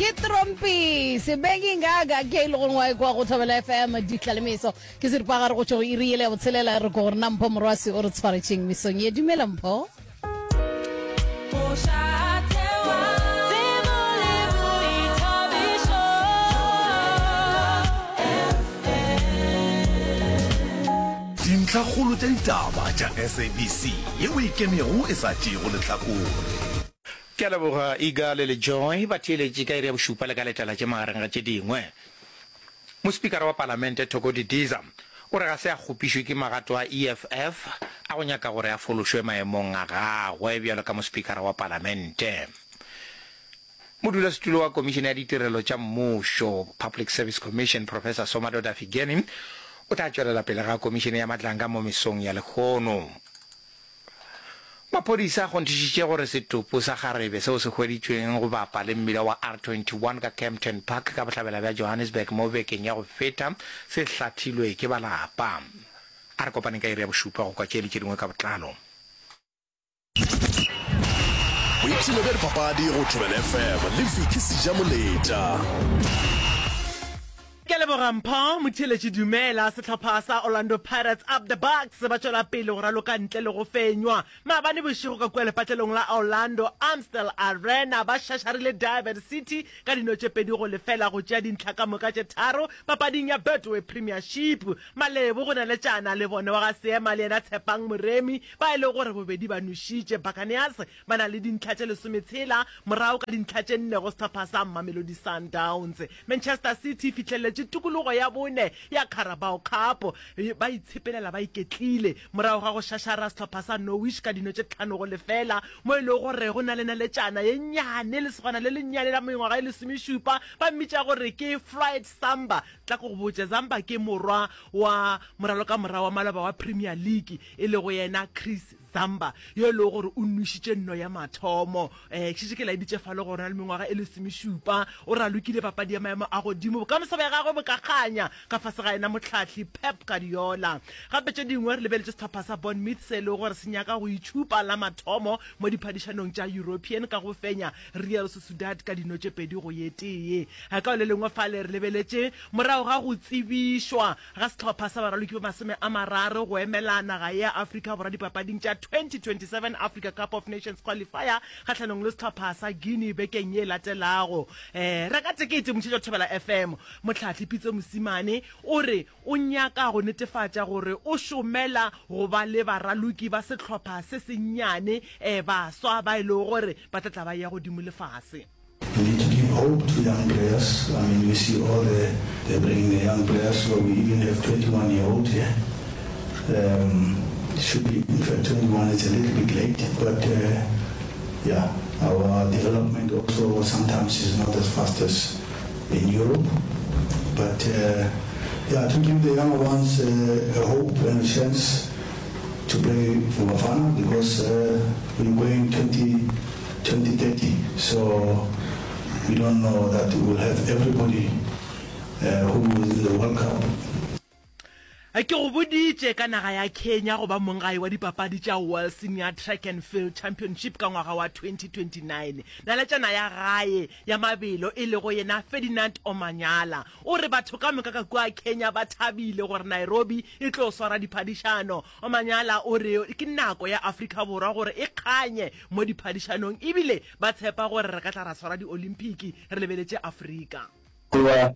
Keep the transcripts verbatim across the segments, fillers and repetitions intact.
Ke Trompisi Bengingaga ke e le gongwe wa ekwa go Thobela F M ditlalemeso ke seripagare go tšwa go iri yele ya botshelela. Re ko gore na Mpho Morwasi o re tshwaretšeng mesong ye. Dumela Mpho. Dintlhakgolo tša ditaba tša S A B C yeo e ikemego e sa tšeego lehlakore. Ke a leboga Iga le LeJoy ba theeletše ka iri ya bošupa le ka letela tše magareng ga tše dingwe. Mospikara wa Palamente Thoko Didiza o re ga se a kgopišwe ke magato a E F F a go nyaka gore a fološwe maemong a gagwe bjalo ka mospikara wa Palamente. Modulasetulo wa Komišene ya Ditirelo tša Mmušo, Public Service Commission, Professor Somadoda Fikeni o tla tšwelela pele ga Komišene ya Matlanga mo mesong ya lehono. Maphodisa a kgonthišitše gore setopo sa kgarebe seo se hweditšweng go bapa le mmila wa R twenty-one ka Kempton Park ka bohlabela bja Johannesburg mo bekeng ya go feta se hlathilwe ke ba lapa. A re kopaneng ka iri ya bošupa go kwa tše le tše dingwe ka botlalo. Boipshino bja dipapadi go Thobela F M le Vicky Sejamoletša. Ke a leboga Mpho. Motheeletši dumela. Sehlopha sa Orlando Pirates Up The Bucks ba tšwela pele go raloka ntle le go fenywa. Maabane bošego ka kua lepatlelong la Orlando Amstel Arena ba šašarile Durban City ka dino tše pedi go lefela go tšea dintlha ka moka tše tharo papading ya Betway Premiership. Malebo go naletšana le bone wa ga Seema le yena Tshepang Moremi ba e lego gore bobedi ba nošitše Buccaneers ba na le dintlha tše lesometshela morago ka dintlha tše nne go sehlopha sa Mamelodi Sundowns. Manchester City e fihleletše tokologo ya bone ya Carabao Cup ba itshepelela ba iketlile morago ga go šašara sehlopha sa Norwich ka dino tše tlhano go lefela mo e lego gore go na le naletšana ye nnyane lesogana le lennyane la mengwaga e lesomešupa ba mmitša gore ke Floyd Samba. Tla ko go botše, Zamba ke morwa wa moralokamora wa maloba wa Premier League e lego yena Chris Zamba yo e lego gore o nwešitše nno ya mathomo. Um ke šetše ke laeditše fale gore o na le mengwaga e lesomešupa, o ralokile papadi ya maemo a godimo, bokamoso bja gagwe bo ka kganya ka fase ga yena mohlahli Pep Guardiola. Gape tše dingwe re lebeletše sehlopha sa Bournemouth se e lego gore se nyaka go itšhupa la mathomo mo diphadišanong tša European ka go fenya Real Sociedad ka dino tše pedi go ye tee. Ka le lengwe fale re lebeletše morago ga go tsebišwa ga sehlopha sa baraloki ba masome a mararo go emela naga ya Afrika Borwa dipapading tša twenty twenty-seven Africa Cup of Nations qualifier kgahlanong le sehlopha sa Guinea bekeng ye latelago. um reka tekete motheetši Thobela F M. Mohlahli Pitso Mosimane o re o nyaka go netefatša gore o šomela go ba le baraloki ba sehlopha se sennyane um baswa ba e lego gore ba tla tla ba ya godimo lefase. We need to give hope to young players. I mean, we see all the, they're bringing the young players, so we even have twenty-one year olds here. Um, it should be, in fact, twenty-one is a little bit late, but uh, yeah, our development also sometimes is not as fast as in Europe. But uh, yeah, to give the younger ones uh, a hope and a chance to play for Bafana because uh, we're going twenty, twenty thirty. So we don't know that we will have everybody uh, who is in the World Cup. Ke go boditše ka naga ya Kenya go ba monggae wa dipapadi tša World Senior Track and Field Championship ka ngwaga wa twenty twenty-nine. Naletšana ya gae ya mabelo e lego yena Ferdinand Omanyala o re batho ka moka ka kua Kenya ba thabile gore Nairobi e tlo swara diphadišano. Omanyala o re ke nako ya Afrika Borwa gore e kganye mo diphadišanong ebile ba tshepa gore re ka tla ra swara di-Olympic re lebeletše Afrika. We were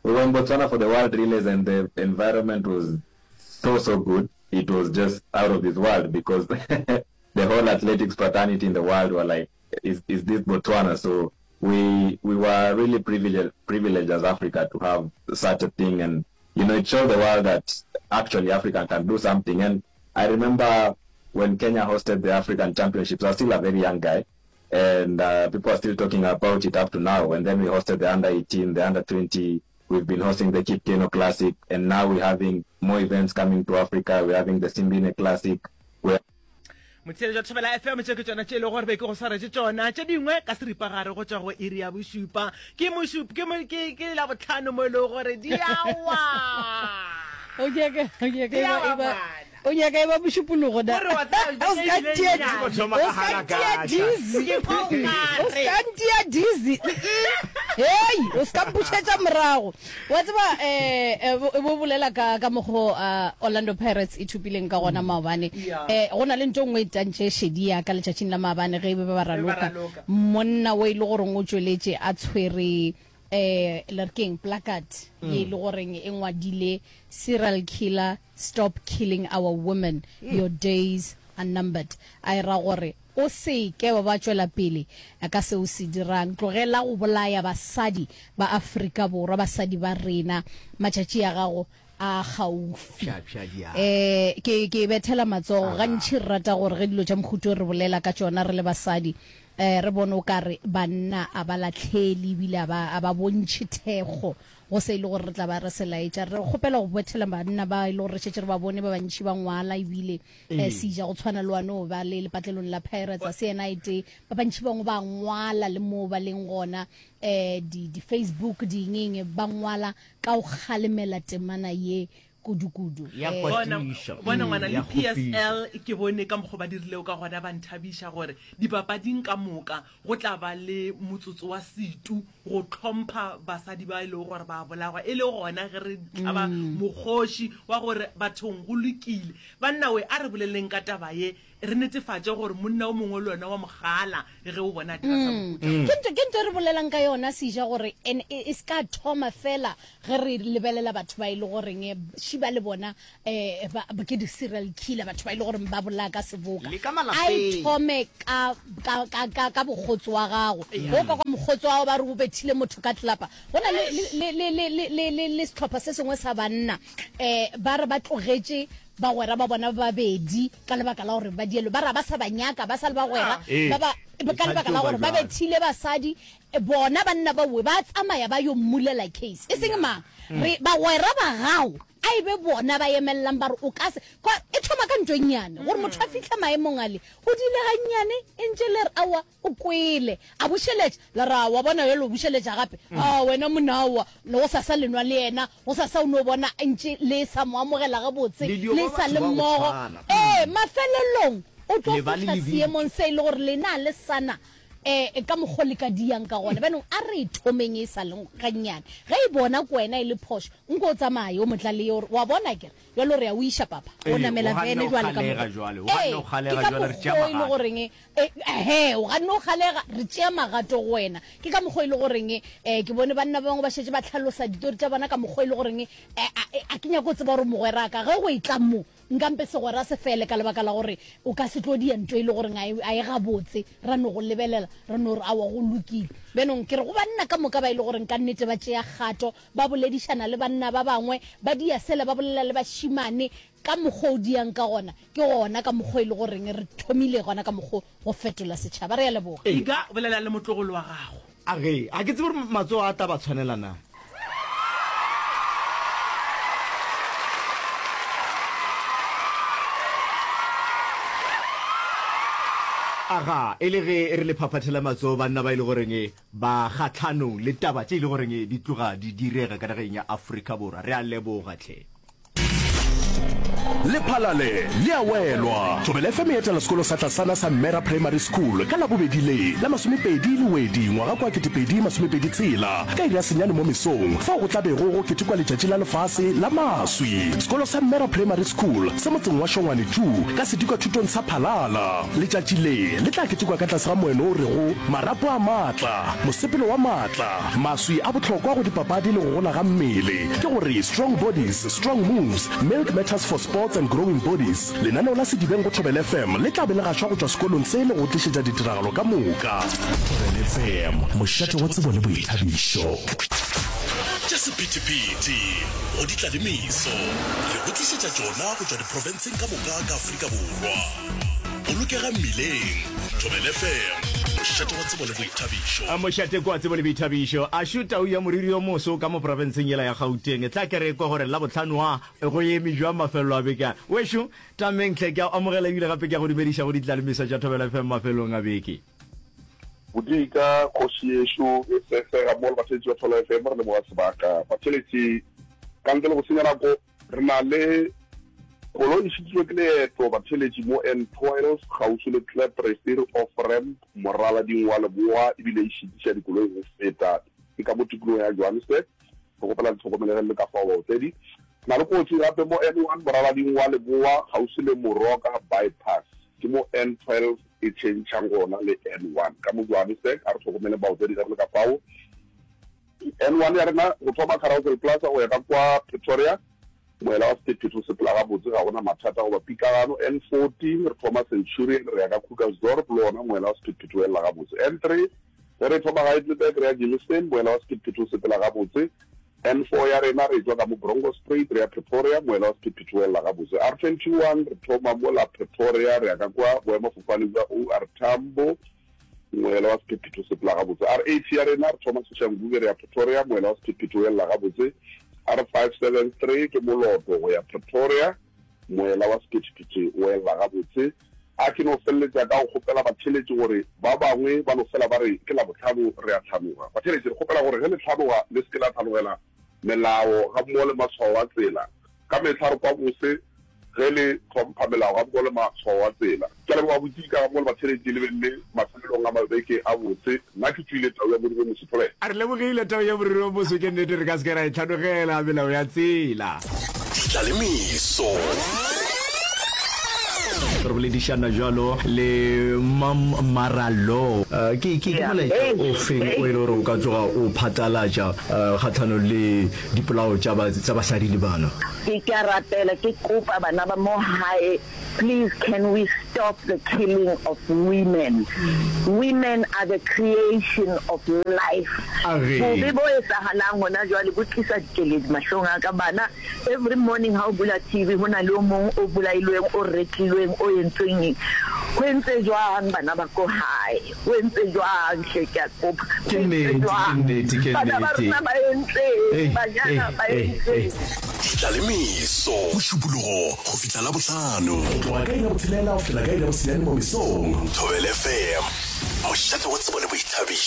we were in Botswana for the World Relays and the environment was so so good. It was just out of this world because the whole athletics fraternity in the world were like, is is this Botswana?" So we we were really privileged privileged as Africa to have such a thing, and you know it showed the world that actually Africa can do something. And I remember when Kenya hosted the African Championships, I was still a very young guy, and uh, people are still talking about it up to now. And then we hosted the under eighteen, the under twenty. We've been hosting the Kip Keino Classic, and now we're having more events coming to Africa. We're having the Simbine Classic. We're Motheeletši wa Thobela F M, tše ke tšona tše e lego gore be ke go swaretše tšona, tše dingwe ka seripagare go tšwa go iri ya bošupa. Ke mošup ke mo ke ke Labohlano mo e lego gore di a wa. O nyaka o nyaka Di e a ba wa e ba ngwana. O nyaka e ba mošupologo na? Gore wa tseba O beke ska ebile ntia nnyane. O ska ntia dizzy. Ke kwa o O kare. ska ntia dizzy. Hei, o se ka mpušetša morago. Wa tseba um bo bolela ka ka mokgo uh, Orlando Pirates e thupileng ka gona maobane. Yeah. Eh go na le ntho e nngwe e tantše šedi ya ka letšatšing la maabane ge e be ba Ge ba raloka. raloka. Monna o e le goreng o tšweletše a tshwere eh le re keng placard ye e le goreng e ngwadile serial killer stop killing our women your days are numbered. A e ra gore o se ke wa ba tšwela pele ka seo se dirang, tlogela go bolaya basadi ba Afrika Borwa, basadi ba rena, matšatši a gago a kgaufi. Eh ke ke bethela matsogo gantši re rata gore ge dilo tša mohuto re bolela ka tšona re le basadi eh re bone o ka re banna a ba lahlele ebile a ba a ba bontšhe thekgo go se e le gore re tla ba re se laetša. Re kgopela go bethela banna ba e le gore re šetše re ba bone ba bantši ba ngwala ebile eh, seja go tshwana le wane o ba le lepatlelong la Pirates a se yena e tee ba bantši bangwe ba ngwala le moo ba leng gona eh di di Facebook dingeng ba ngwala ka go kgalemela temana ye kudu-kudu. Ya Eh, bona kwatiša. bona Mm, ngwana le ya kgopiša. P S L ke bone ka mokgwa ba dirilego ka gona ba nthabiša gore dipapading ka moka go tla ba le motsotso wa setu go tlhompha basadi ba e lego gore ba bolagwa e le gona ge re tlaba mokgoši wa gore bathong go lokile banna we a re boleleng ka taba ye re netefatše gore monna o mongwe le wena wa mogala ge o bona dira sa mohuta. Ke ntho ke ntho e re bolelang ka yona seja gore en e e se ka thoma fela ge re lebelela batho ba e le goreng eh, šiba le bona eh ba ba- ke di-serial killer batho ba e le goreng ba bolaya ka seboka Le ka a e malapeng. thome ka ka ka ka ka bokgotsi wa gago o ka kwa mokgotsi wa gago ba re o bethile motho ka tlelapa go na le le le le le le le le sehlopha se sengwe sa banna eh ba re ba tlogetše bagwera ba bona ba babedi ka lebaka la gore ba dielo ba ra ba sa ba nyaka ba sa le bagwera Ee. ba ba ka lebaka la gore ba bethile basadi eh, bona banna ba we ba tsamaya ba yo mmulela case e seng mang re bagwera ba gago a e be bona ba emellang ba re o ka se kwa e thoma ka ntho e nnyane gore motho a fitlha maemong ale o dile gannyane e ntše le re aowa o kwele a bušeletša la ra wa bona jalo o bušeletša gape a wena monaowa le go sasa lenwa le yena go sasa o no bona ntše le sa mo amogela gabotse Le dio le ba sa batho le ba go mmogo tshwana. ee mafelelong o tlo Le ba le fihla lebitso. seemong se e le gore lena le sana eh ka mokgwa le ka diang ka gona bjanong a re e thomeng e sa leng gannyane ge e bona ko wena e le phošo nko o tsamaye o motlaleye ore wa bona kere jalo re a o iša papa o Ee, namela o ganne vene o jwale ka kgalega mokgwa. jwale, o Ee, ganne o kgalega ke ka jwale, re tšea mokgwa o e le magato. goreng eh, ehe o ganne o kgalega re tšea magato go wena ke ka mokgwa e le goreng um ke bone banna ba bangwe ba šetše ba tlhalosa ditori tša bona ka mokgwa e le goreng eh, a a ke nyako go tseba gore mogweraka ge go e tla mo nkampe segwera se fele ka lebaka la gore o ka se tlo dia ntho e le goreng a e- a e gabotse ra no go lebelela ra no re aowa go lokile bjanong ke re go banna ka moka ba e le goreng ka nnete ba tšea kgato ba boledišana le banna ba bangwe ba dia sele ba bolela le bašimane ka mokgwa o diang ka gona ke gona ka mokgwa e le goreng re thomile gona ka mokgwa go fetola setšhaba re ya leboga Ika bolela le motlogolo wa gago A ge a ke tsebe gore matsogo a tla ba tshwanela na. Aga e le ge re le phaphathela matsogo banna ba e le goreng ba kgatlhanong le taba tše e le goreng di tloga di direga ka nageng ya Afrika Borwa. Re a leboga tlhe. Lephalale le a welwa. Thobela F M e etela sekolo sa tlasana sa Mera Primary School ka Labobedi le la masomepedi Lewedi ngwaga kwa ketepedi masomepedi tshela ka iri ya senyane mo mesong fao go tla bego go ketekwa letšatši la lefase la maswi. Sekolo sa Mera Primary School se motseng wa Shongwane two ka sedikwathutong sa Phalala. Letšatši le le tla ketekwa ka tlase ga moeno o rego marapo a maatla, mosepelo wa maatla, maswi a bohlokwa go dipapadi le go gola ga mmele. Ke gore strong bodies, strong moves, milk matters for sports and growing bodies. Lenaneo la Sedibeng go Thobela F M le tla be le gašwa go tšwa sekolong se le go tlišetša ditiragalo ka moka. Thobela F M, mošate wa tsebo le boithabišo. Tša sephethephethe go di tla le meso re go tlišetša tšona go tšwa diprofenseng ka moka ka Afrika Borwa. Bolokega mmileng. Thobela F M, mošate wa tsebo le boithabišo. A mošate kwa tsebo le boithabišo a šo tau ya moriri yo moso ka mo profenseng yela ya Gauteng. Tla ke re kwa gore Labohlano wa go eme jwang mafelelo a beke a. Wešo tameng tlhe ke a amogela ebile gape ke a go dumediša go ditlalemiso tša Thobela F M mafelong a beke. Bodika kgoši yešo e sesega mo le batheletši ba Thobela F M re leboga sebaka. Batheletši ka ntle le go senya nako re na le koloi e šitšwe ke leeto batheletši mo N twelve kgauswi le Klappresir off ramp moralading wa Leboa ebile e šitiša dikoloi go feta. Ke ka mo tikologong ya Johannesburg. Re kgopela le tlhokomele ge le le ka fao baotledi. Re na le kotsi gape mo N one moralading wa Leboa kgauswi le Moroka Bypass. Ke mo N twelve e tšhentšhang gona le N one ka mo Johannesburg. A re tlhokomeleng baotledi ge re le ka fao. N one ya rena go thoma Carousel Plaza go ya ka kwa Pretoria, moela wa sephethephethe o sepela gabotse, ga go na mathata goba pitlagano. N fourteen re thoma Centurion re ya ka Krugersdorp, le wona moela wa sephethephethe o elela gabotse. N three ge re thoma Heidelberg re ya Germiston, moela wa sephethephethe o sepela gabotse. N four ya rena re tšwa ka mo Bronkhorstspruit re ya Pretoria, moela wa sephethephethe o elela gabotse. R twenty one re thoma mola Pretoria re ya ka kwa boemafofane bja O R Tambo, Moela wa sephethephethe o sepela gabotse. R eighty ya rena, re thoma Soshanguve re ya Pretoria, moela wa sephethephethe o elela gabotse. R five seven three ke Moloto go ya Pretoria, moela wa sephethephethe o elela gabotse. A ke no feleletša ka go kgopela batheeletši gore ba bangwe ba no fela ba re ke Labohlano re a hlanoga. Batheeletši, re kgopela gore ge le hlanoga le se ke la hlanogela melao gammogo le matshwao a tsela. Ka mehla re kwa bose ge le hlompha melao gammogo le matshwao a tsela. Ke a leboga Botika gammogo le batheeletši le beng le mafelelong a mabeke a botse. Nna ke tšwile Tau ya Moriri o Moso. Thobela. A re lebogile Tau ya Moriri o Moso, ke nnete re ka se ke ra e hlanogela melao ya tsela. Ditlalemeso. Re boledišana bjalo le Mam Maralo. Ke, ke, ke molaetša o feng o e le gore o ka tsoga o phatlalatša kgahlanong le dipolao tša ba, tša basadi le bana? Ke, ke a rapela, ke kopa bana ba mo hae, please can we stop the killing of women? Women are the creation of life. Age. Bobe bo etsahalang hona jwale bo tlisa dikeledi mahlong a ka. Bana Every morning ha o bula T V ho na le o mong o bolailweng, o retlilweng, o entsweng eng. Ho entse jwang bana ba ko hae? Ho entse jwang hle ke a kopa. Ke Ho entse nnete, ke jwang? nnete, ke Bana ba nnete. rona ba entseng? Ei, Banyana ei, ba ei, ei. entseng? Ditlalemeso, Mošupologo go fihla Labohlano. Go tloga ka iri ya botshelela go fihlela ka iri ya bosenyane mo mesong. Thobela F M, mošate wa tsebo le boithabišo.